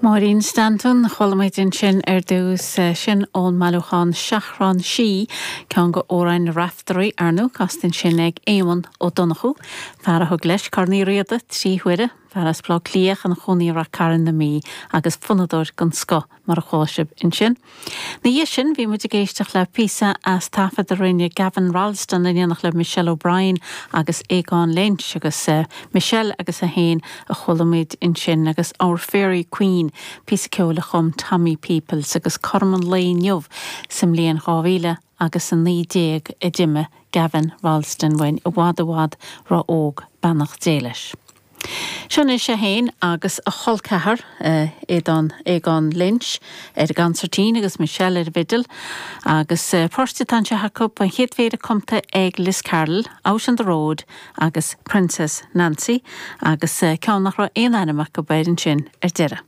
Máirín Stanton, Chuala muid ansin ar dtús, sin ón mbailiúchán Seachrán Sí, ceann de amhráin na Raiftearaí, ar ndóigh, casta ansin ag Éamonn Ó Donnchú, fear a thug leis Corn Uí Riada 3 huaire, fear as Baile Átha Cliath ina chónaí i Rath Cairn na Mí agus fonnadóir den scoth. mar a chuala sibh ansin. Ina dhiaidh sin, bhí muid ag éisteacht le píosa as taifead a rinne Gavin Rolleston in éineacht le Michelle O'Brien agus Aogán Lynch agus Michelle agus é féin a chuala muid ansin agus Our Fairy Queen, píosa ceoil a chum Tommy Peoples agus cothrom an lae inniu sa mbliain 2000 agus 19 a d'imigh Gavin Rolleston uainn i bhfad i bhfad ró-óg, beannacht Dé leis. Seo anois é féin agus a chol ceathar, Aodán, Aogán Lynch, ar an gconsairtín agus Michelle ar an bhfidil. Agus poirt atá anseo acu, an chéad phéire cumtha ag Liz Carroll, Out on the Road agus Princess Nancy, agus ceann nach raibh aon ainm acu air ansin ar deireadh.